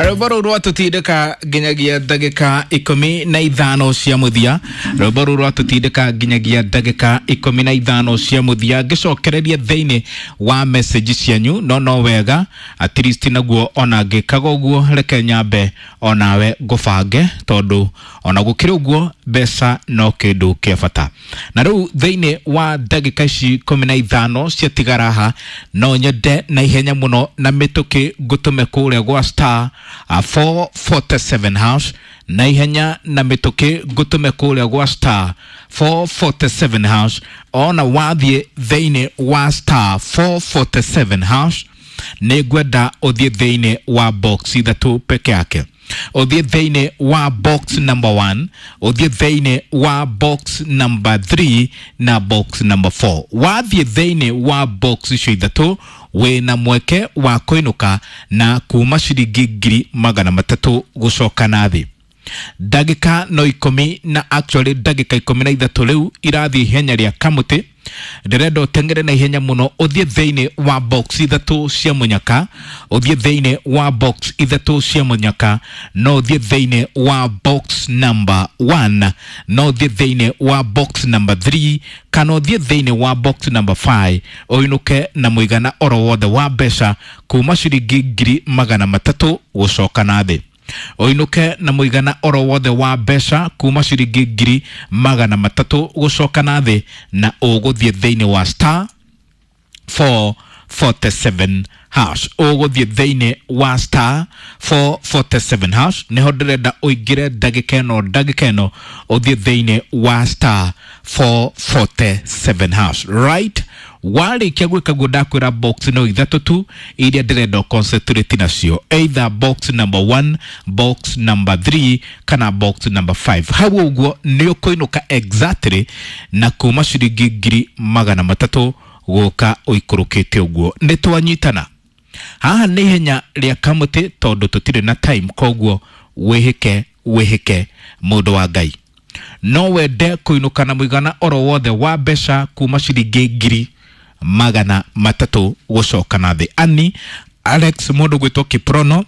Rwĩmbo rũu rwatũtindĩka nginyagia ndagĩka 15 cia mũthia. Rwĩmbo rũu rwatũtindĩka nginyagia ndagĩka 15 cia mũthia, ngĩcokereria thĩinĩ wa message cianyu. No no wega at least naguo ona ngĩkaga ũguo, reke nyambe onawe ngũbange, tondũ ona gũkĩrĩ ũguo mbeca no kĩndũ kĩa bata. Na rĩu thĩinĩ wa ndagĩka ici 15 ciatigara haha, no nyende na ihenya mũno na mĩtũkĩ ngũtũme kũrĩa gwa star 447 hash. Na ihenya na mĩtũkĩ ngũtũme kũrĩa gwa star 447 hash. Ona wathiĩ thĩinĩ wa star 447 hash, nĩ ngwenda ũthiĩ thĩinĩ wa box ithatũ peke yake. Ũthiĩ thĩinĩ wa box number 1, ũthiĩ thĩinĩ wa box number 3 na box number 4. Wathiĩ thĩinĩ wa box icio ithatũ, wĩna mweke wa kũinũka na kuma ciringi 300,000 gũcoka na thĩ. Ndagĩka no ikũmi na, actually ndagĩka 13 rĩu irathiĩ ihenya rĩa kamũtĩ. Ndĩrenda ũteng'ere na ihenya mũno, ũthiĩ thĩinĩ wa box ithatũ cia mũnyaka. Ũthiĩ thĩinĩ wa box ithatũ cia mũnyaka. No ũthiĩ thĩinĩ wa box number 1, no ũthiĩ thĩinĩ wa box number 3, kana ũthiĩ thĩinĩ wa box number 5, ũinũke na mũigana oro wothe wa mbeca kuma ciringi 300,000 gũcoka na thĩ. Ũinũke na mũigana oro wothe wa mbeca kuma ciringi 300,000 gũcoka na thĩ, na ũgũthiĩ thĩinĩ wa star 447 hash. Ũgũthiĩ thĩinĩ wa star 447 hash, nĩho ndĩrenda ũingĩre ndagĩka ĩno. Ndagĩka ĩno ũthiĩ thĩinĩ wa star 447 hash, right? Warĩkia gwĩka guo, ndakwĩra box no ithatũ tu iria ndĩrenda concentrate nacio, either box number 1, box number 3 kana box number 5. Hau ũguo nĩ ũkũinũka exactly na kuma ciringi 300,000 gũka ũikũrũkĩte ũguo. Nĩ twanyitana? Haha nĩ ihenya rĩa kamũtĩ tondũ tũtirĩ na time, koguo wĩhĩke wĩhĩke, mũndũ wa Ngai. No wende kũinũka na mũigana oro wothe wa mbeca kuma ciringi 300,000 gũcoka na thĩ. Ani Alex, mũndũ gwĩtwo Kiprono,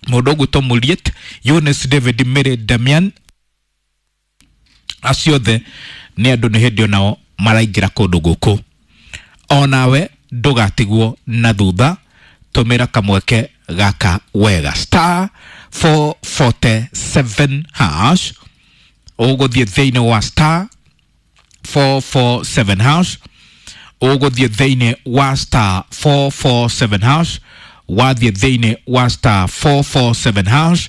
mũndũ gwĩtwo Muliet, Eunice, David, Mary, Damian, acio othe nĩ andũ nĩ hĩndĩ onao maraingĩra kũndũ gũkũ. Onawe ndũgatigwo na thutha, tũmĩra kamweke gaka wega. Star 447 hash. Ũgũthiĩ thĩinĩ wa star 447 hash. Ũgũthiĩ thĩinĩ wa star 447 hash. Wathiĩ thĩinĩ wa star 447 hash,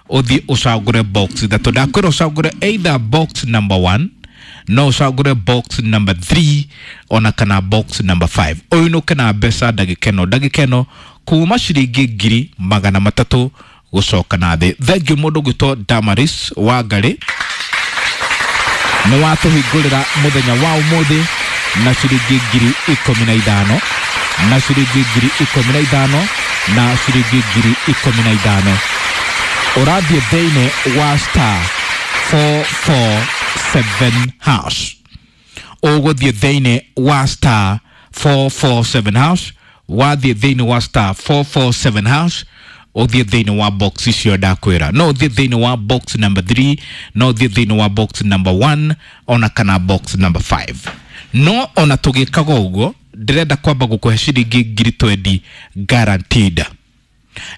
ũthiĩ ũcagũre box ithatũ. Ndakwĩra ũcagũre either box number 1, no ũcagũre box number 3, ona kana box number 5, ũinũke na mbeca ndagĩka ĩno, ndagĩka ĩno, kuma ciringi 300,000 gũcoka na thĩ. Thengiũ mũndũ gwĩtwo Damaris wa Ngarĩ, nĩ watũhingũrĩra mũthenya wa ũmũthĩ na ciringi 15,000, na ciringi 15,000, na ciringi 15,000. Ũrathiĩ thĩinĩ wa star 447 hash. Ũgũthiĩ thĩinĩ wa star 447 hash. Wathiĩ thĩinĩ wa star 447 hash, ũthiĩ thĩinĩ wa box icio ndakwĩra. No ũthiĩ thĩinĩ wa box number 3, no ũthiĩ thĩinĩ wa box number 1, ona kana box number 5. No ona tũgĩkaga ũguo, ndĩrenda kwamba gũkũhe ciringi 20,000 guaranteed.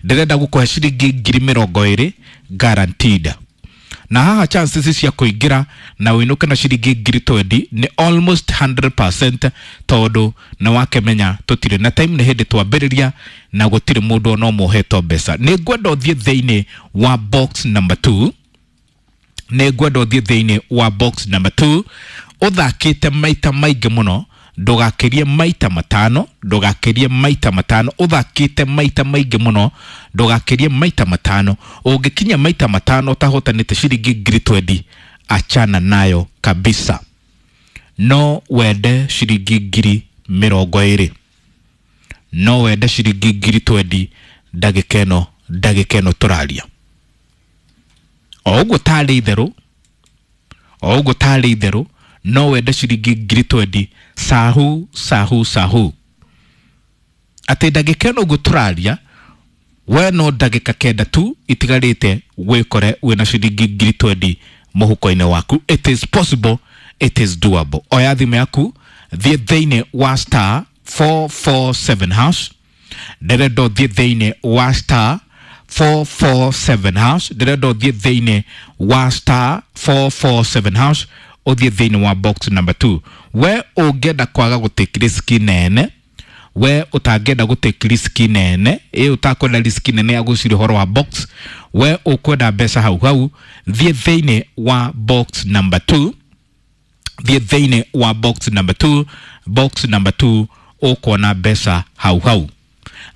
Ndĩrenda gũkũhe ciringi 20,000 guaranteed. Na haha chances cia kũingĩra na ũinũke na ciringi 20,000 nĩ almost 100%, tondũ nĩ wakĩmenya tũtirĩ na time, nĩ hĩndĩ twambĩrĩria na gũtirĩ mũndũ ona ũmwe ũhetwo mbeca. Nĩ ngwenda ũthiĩ thĩinĩ wa box number 2. Nĩ ngwenda ũthiĩ thĩinĩ wa box number 2 ũthakĩte maita maingĩ mũno, ndũgakĩrie maita matano, ndũgakĩrie maita matano. Ũthakĩte maita maingĩ mũno, ndũgakĩrie maita matano. Ũngĩkinya maita matano ũtahotanĩte ciringi 20,000, achana nayo kabisa. No wende ciringi 20,000, no wende ciringi 20,000 ndagĩka ĩno, ndagĩka ĩno tũraria. O ũguo tarĩ itherũ, o ũguo tarĩ itherũ, no wende ciringi 20,000 sahu sahu sahu, atĩ ndagĩka ĩno ũguo tũraria. We no ndagĩka 9 tu itigarĩte wĩkore wĩna ciringi 20,000 mũhuko-inĩ waku. It is possible, it is doable. Oya thimũ yaku, thiĩ thĩinĩ wa star 447 hash. Ndĩrenda ũthiĩ thĩinĩ wa star 447 hash. Ndĩrenda ũthiĩ thĩinĩ wa star 447 hash, ũthiĩ thĩinĩ wa box number 2. We ũngĩenda kwaga gũtake risk nene, we ũtangĩenda gũtake risk nene, ĩ ũtakwenda risk nene ya gwĩciria ũhoro wa box, we ũkwenda mbeca hau hau, thiĩ thĩinĩ wa box number 2. Thiĩ thĩinĩ wa box number 2. Box number 2 ũkuona mbeca hau hau.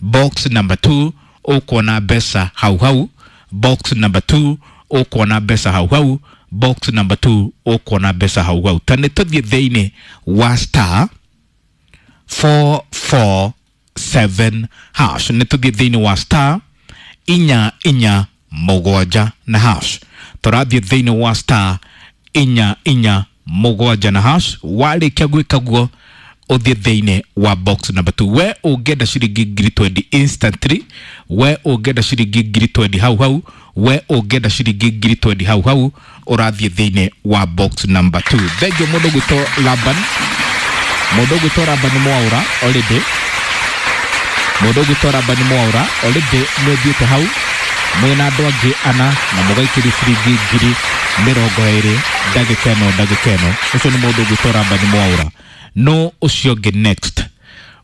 Box number 2 ũkuona mbeca hau hau. Box number 2 ũkuona mbeca hau hau. Box number 2 ũkuona mbeca hau hau. Ta nĩ tũthiĩ thĩinĩ wa star 447 hash. Nĩ tũthiĩ thĩinĩ wa star 447 na hash. Tũrathiĩ thĩinĩ wa star 447 na hash. Warĩkia gwĩka guo, ũthiĩ thĩinĩ wa box number 2. We ũngĩenda ciringi 20,000 instantly, we ũngĩenda ciringi 20,000 hau hau, we ũngĩenda ciringi 20,000 hau hau, ũrathiĩ thĩinĩ wa box number 2. Thengiũ mũndũ gwĩtwo Laban, mũndũ ũgwĩtwo Laban Mwaura already, mũndũ ũgwĩtwo Laban Mwaura already nĩ ũthiĩte hau mwĩna andũ angĩ ana na mũgaikĩria ciringi 20,000 ndagĩka ĩno ndagĩka ĩno. Ũcio nĩ mũndũ ũgwĩtwo Laban Mwaura. No ũcio ũngĩ next,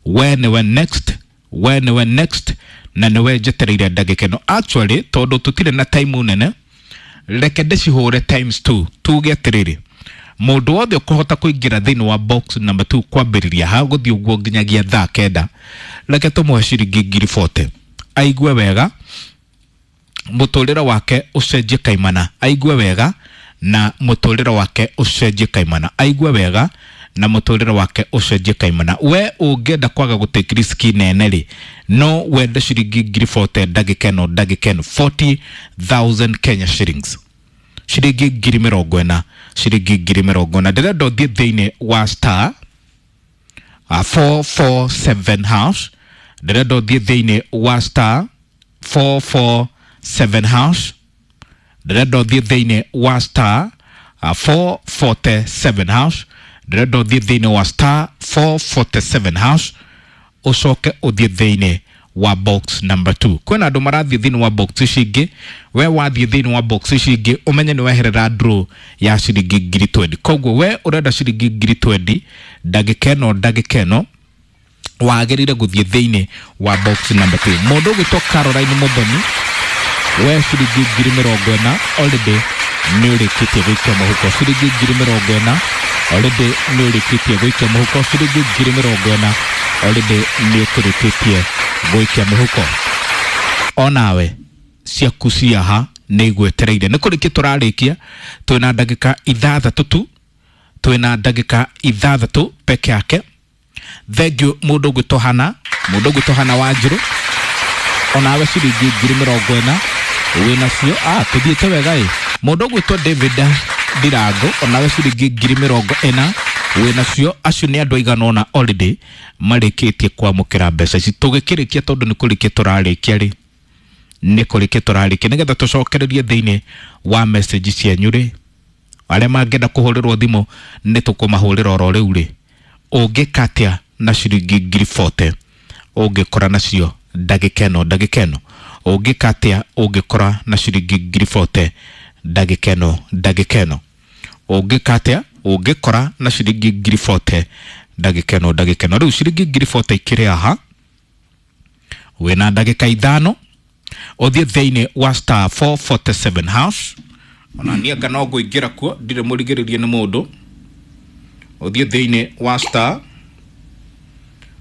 we nĩwe next, we nĩwe next, na nĩwe njetereire ndagĩka ĩno. Actually tondũ tũtirĩ na time nene, reke ndĩcihũre times 2. Tuge atĩrĩrĩ, mũndũ wothe ũkũhota kũingĩra thĩinĩ wa box number 2 kwambĩrĩria ha gũthiĩ ũguo nginyagia thaa 9, reke tũmũhe ciringi 40,000 aigue wega, mũtũrĩre wake ũcenjie kaimana, aigue wega na mũtũrĩre wake ũcenjie kaimana, aigue wega na mũtũrĩre wake ũcenjie kaimana. We ũngĩenda kwaga gũtake risk nene rĩ, no wende ciringi 40,000 ndagĩka ĩno ndagĩka ĩno, 40,000 Kenya shillings, ciringi 40,000, ciringi 40,000. Ndĩrenda ũthiĩ thĩinĩ wa star 447 hash. Ndĩrenda ũthiĩ thĩinĩ wa star 447 hash. Ndĩrenda ũthiĩ thĩinĩ wa star 447 hash. Ndĩrenda ũthiĩ thĩinĩ wa star 447 hash, ũcoke ũthiĩ thĩinĩ wa box number 2. Kwĩna andũ marathiĩ thĩinĩ wa box ici ingĩ. We wathiĩ thĩinĩ wa box ici ingĩ, ũmenye nĩ weherera draw ya ciringi 20,000. Koguo we ũrenda ciringi 20,000 ndagĩka ĩno ndagĩka ĩno, wagĩrĩire gũthiĩ thĩinĩ wa box number 2. Mũndũ ũgwĩtwo Caroline Muthoni, we ciringi 40,000 already nĩ ũrĩkĩtie gũikia mũhuko. Ciringi 40,000 already nĩ ũrĩkĩtie gũikia mũhuko. Ciringi 40,000 already nĩ ũkĩrĩkĩtie gũikia mũhuko. Onawe ciaku ciaha nĩ igwetereire. Nĩ kũrĩkia tũrarĩkia, twĩna ndagĩka 6 tu, twĩna ndagĩka 6 peke yake. Thengiũ mũndũ ũgwĩtwo Hana, mũndũ ũgwĩtwo Hana Wanjirũ, onawe ciringi 40,000 wĩnacio. Tũthiĩte wega ĩ. Mũndũ ũgwĩtwo David Ndirango, onawe ciringi 40,000 wĩnacio. Acio nĩ andũ aigana ũna already marĩkĩtie kwamũkĩra mbeca ici. Tũgĩkĩrĩkia, tondũ nĩ kũrĩkia tũrarĩkia rĩ, nĩ kũrĩkia tũrarĩkia, nĩgetha tũcokererie thĩinĩ wa message cianyu rĩ, arĩa mangĩenda kũhũrĩrwo thimũ nĩ tũkũmahũrĩra oro rĩu rĩ. Ũngĩka atĩa na ciringi 40,000 ũngĩkora nacio ndagĩka ĩno ndagĩka ĩno? Ũngĩka atĩa ũngĩkora na ciringi 40,000 ndagĩka ĩno ndagĩka ĩno? Ũngĩka atĩa ũngĩkora na ciringi 40,000 ndagĩka ĩno ndagĩka ĩno? Rĩu ciringi 40,000 ikĩrĩ haha, wĩna ndagĩka 5 ũthiĩ thĩinĩ wa star 447 hash. Ona niĩ anga no ngũingĩra kuo, ndirĩ mũrigĩrĩrie nĩ mũndũ. Ũthiĩ thĩinĩ wa star,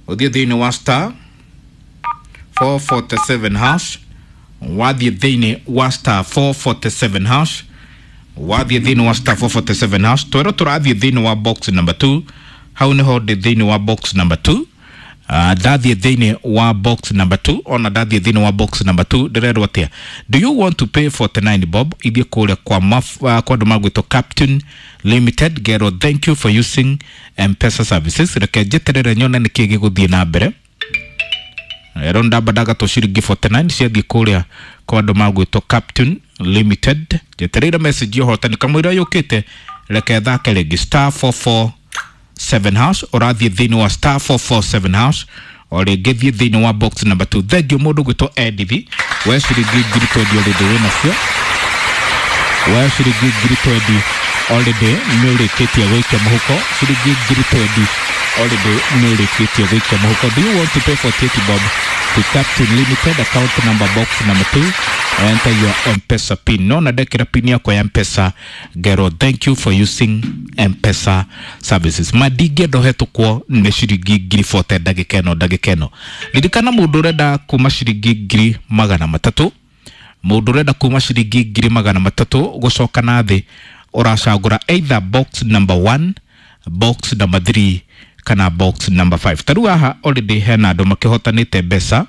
ũthiĩ thĩinĩ wa star 447 hash. Wathiĩ thĩinĩ wa star 447 hash, wathiĩ thĩinĩ wa star 447 hash, twerwo tũrathiĩ thĩinĩ wa box number 2. Hau nĩho ndĩ thĩinĩ wa box number 2. Ndathiĩ thĩinĩ wa box number 2, ona ndathiĩ thĩinĩ wa box number 2 ndĩrerwo atĩa? Do you want to pay 49 bob? Ithiĩ kũrĩa kwa kwa andũ magwĩtwo Captain Limited, ngerwo thank you for using M-Pesa services. Reke njeterere nyone nĩkĩ gĩgũthiĩ na mbere. Ero ndamba ndagatwo ciringi 49 ciathiĩ kũrĩa kwa andũ magwĩtwo Captain Limited. Njetereire message ya ũhotani kamũira yũkĩte, reke thake rĩngĩ star 447 hash. Ũrathiĩ thĩinĩ wa star 447 hash o rĩngĩ, thiĩ thĩinĩ wa box number 2. Thank you mũndũ gwĩtwo Edith, we ciringi 20,000 already wĩ nacio, we ciringi 20,000 already nĩ ũrĩkĩtie gũikia mũhuko, ciringi 20,000 already nĩ ũrĩkĩtie gũikia mũhuko. Do you want to pay 48 bob to Captain Limited, account number, box number 2? Enter your M-Pesa pin. No na ndekĩra pin yakwa ya M-Pesa ngero thank you for using M-Pesa services. Ma ndingĩenda ũhetũkwo nĩ ciringi 40,000 ndagĩka ĩno, ndagĩka ĩno. Ririkana mũndũ ũrenda kuma ciringi 300,000, mũndũ ũrenda kuma ciringi 300,000 gũcoka na thĩ, ũracagũra either box number 1, box number 3 kana box number 5. Ta rĩu haha already hena andũ makĩhotanĩte mbeca,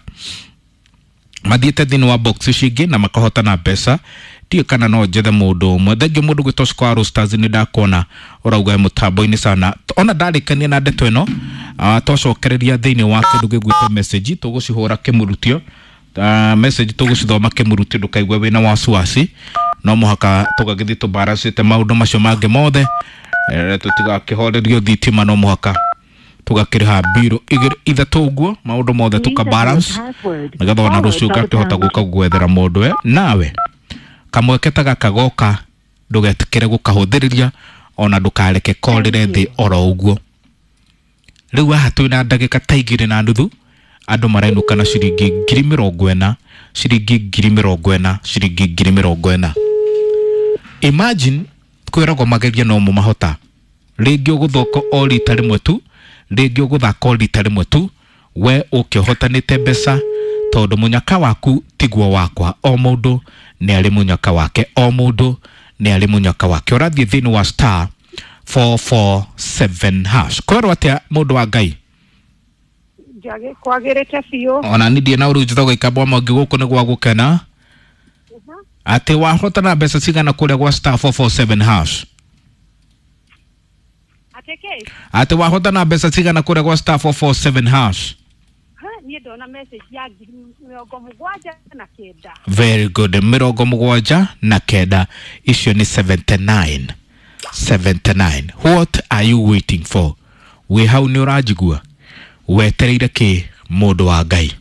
mathiĩte thĩinĩ wa box ici ingĩ na makahotana mbeca. Ndiũĩ kana no njethe mũndũ ũmwe. Thengiũ mũndũ gwĩtwo Square Stars, nĩ ndakuona ũrauga mũtambo-inĩ sana. Ona ndarĩkania na ndeto ĩno, twacokereria thĩinĩ wa kĩndũ gĩgwĩtwo message, tũgũcihũra kĩmurutio, message tũgũcithoma kĩmurutio, ndũkaigue wĩna wasiwasi. No mũhaka tũgagĩthiĩ tũbaracĩte maũndũ macio mangĩ mothe, tũtigakĩhorerio thitima, no mũhaka tũgakĩrĩha mbirũ igĩrĩ ithatũ ũguo, maũndũ mothe tũka balance nĩgetha ona rũciũ ngakĩhota gũka gwethera mũndũ we nawe kamweke ta gaka goka, ndũgetĩkĩre gũkahũthĩrĩria ona ndũkareke korĩre thĩ oro ũguo. Rĩu haha twĩna ndagĩka ta 2.5, andũ marainũka na ciringi 40,000, ciringi 40,000, ciringi 40,000. Imagine kwĩragwo mageria no mahota rĩngĩ ũgũthoko o rita rĩmwe tu, rĩngĩ ũgũthaka o rita rĩmwe tu, we ũkĩhotanĩte mbeca, tondũ mũnyaka waku tiguo wakwa. O mũndũ nĩ arĩ mũnyaka wake, o mũndũ nĩ arĩ mũnyaka wake. Ũrathiĩ thĩinĩ wa star 447 hash. Kwĩrwo atĩa mũndũ wa Ngai? Njage kwagĩrĩte biũ. Ona ni ndiĩ na ũru, njĩtagwo ikambwa mwangi, gũkũ nĩ gwa gũkena. Atĩ wahotana mbeca cigana kũrĩa gwa star 447 hash? Atĩ kĩ? Atĩ wahotana mbeca cigana kũrĩa gwa star 447 hash? Ha, niĩ ndona message ya 79,000. Very good, 79, icio nĩ 79, 79. What are you waiting for? Wĩ hau nĩ ũranjigua, wetereire kĩ mũndũ wa Ngai?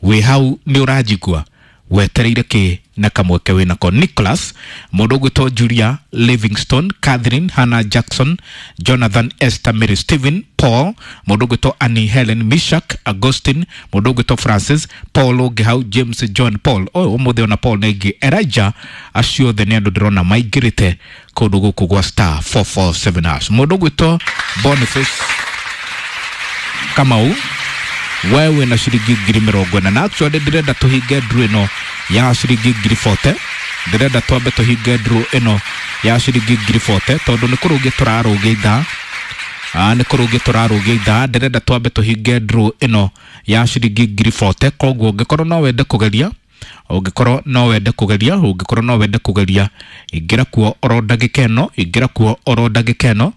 Wĩ hau nĩ ũranjigua, wetereire kĩ na kamweke wĩnako? Nicholas, mũndũ ũgwĩtwo Julia Livingstone, Catherine, Hannah Jackson, Jonathan, Esther, Mary, Stephen, Paul, mũndũ ũgwĩtwo Annie, Helen, Mishak, Augustine, mũndũ ũgwĩtwo Francis, Paul ũngĩ hau, James, John, Paul ũyũ ũmũthĩ, ona Paul nĩ ingĩ, Elijah, acio othe nĩ andũ ndĩrona maingĩrĩte kũndũ gũkũ gwa star 447 hash. Mũndũ ũgwĩtwo Boniface Kamau, we wĩna ciringi 40,000, na actually ndĩrenda tũhinge draw ĩno ya ciringi 40,000. Ndĩrenda twambe tũhinge draw ĩno ya ciringi 40,000 tondũ nĩ kũrũgia tũrarũgia ithaa. Nĩ kũrũgia tũrarũgia ithaa, ndĩrenda twambe tũhinge draw ĩno ya ciringi 40,000. Koguo ũngĩkorwo no wende kũgeria, ũngĩkorwo no wende kũgeria, ũngĩkorwo no wende kũgeria, ingĩra kuo oro ndagĩka ĩno, ingĩra kuo oro ndagĩka ĩno.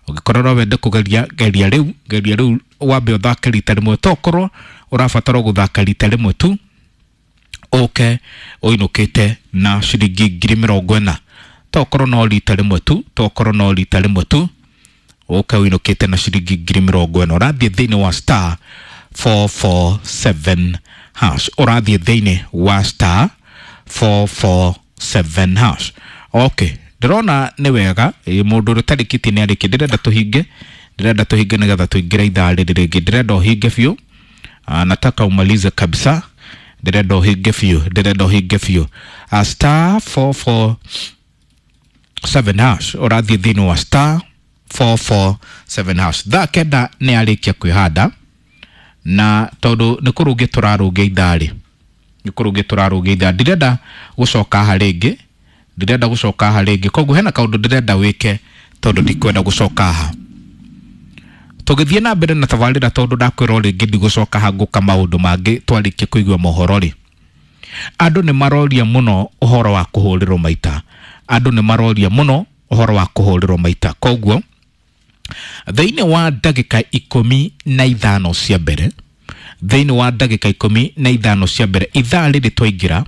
Ũngĩkorwo no wende kũgeria, geria rĩu, geria rĩu, wambe ũthake rita rĩmwe, tokorwo ũrabatara gũthaka rita rĩmwe tu ũke ũinũkĩte na ciringi 40,000. Tokorwo no rita rĩmwe tu, tokorwo no rita rĩmwe tu ũke ũinũkĩte na ciringi 40,000. Ũrathiĩ thĩinĩ wa star 447 hash, ũrathiĩ thĩinĩ wa star 447 hash. Okay, ndĩrona nĩ wega. Mũndũ ũrĩa ũtarĩkĩtie nĩ arĩkie. Ndĩrenda tũhinge, ndĩrenda tũhinge nĩgetha tũingĩre ithaa rĩrĩ rĩngĩ. Ndĩrenda ũhinge biũ. Nataka umalize kabisa, ndĩrenda ũhinge biũ, ndĩrenda ũhinge biũ. Star 447 hash, ũrathiĩ thĩinĩ wa star 447 hash. Thaa 9 nĩ arĩkia kwĩhanda, na tondũ nĩ kũrũgia tũrarũgia ithaa rĩ, nĩ kũrũgia tũrarũgia ithaa, ndirenda gũcoka haha rĩngĩ, ndirenda gũcoka haha rĩngĩ. Koguo hena kaũndũ ndĩrenda wĩke tondũ ndikwenda gũcoka haha tũgĩthiĩ na mbere na tabarĩra, tondũ ndakwĩra o rĩngĩ ndigũcoka haha, ngũka maũndũ mangĩ twarĩkia kũigua mohoro rĩ. Andũ nĩ maroria mũno ũhoro wa kũhũrĩrwo maita, andũ nĩ maroria mũno ũhoro wa kũhũrĩrwo maita. Koguo thĩinĩ wa ndagĩka 15 cia mbere, Thĩinĩ wa ndagĩka 15 cia mbere ithaa rĩrĩ twaingĩra,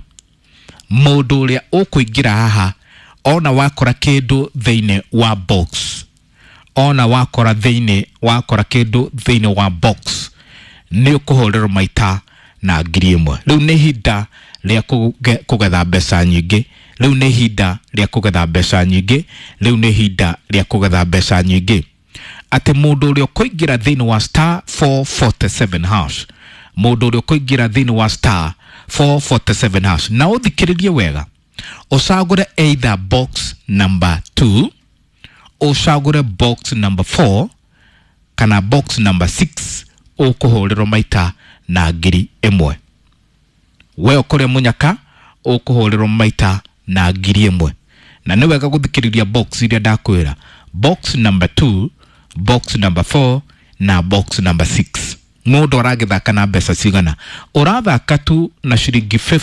mũndũ ũrĩa ũkũingĩra haha ona wakora kĩndũ thĩinĩ wa box, ona wakora thĩinĩ wakora kĩndũ thĩinĩ wa box, nĩ ũkũhũrĩrwo maita na 1,000. Rĩu nĩ ihinda rĩa kũgetha mbeca nyingĩ. Rĩu nĩ ihinda rĩa kũgetha mbeca nyingĩ. Rĩu nĩ ihinda rĩa kũgetha mbeca nyingĩ, atĩ mũndũ ũrĩa ũkũingĩra thĩinĩ wa star 447 hash, mũndũ ũrĩa ũkũingĩra thĩinĩ wa star 447 hash, na ũthikĩrĩrie wega, ũcagũre either box number 2, ũcagũre box number 4 kana box number 6, ũkũhũrĩrwo maita na 1,000. We ũkũrĩa mũnyaka, ũkũhũrĩrwo maita na 1,000. Na nĩ wega gũthikĩrĩria box iria ndakwĩra: box number 2, box number 4 na box number 6. Mũndũ aragĩthaka na mbeca cigana? Ũrathaka tu na ciringi 50.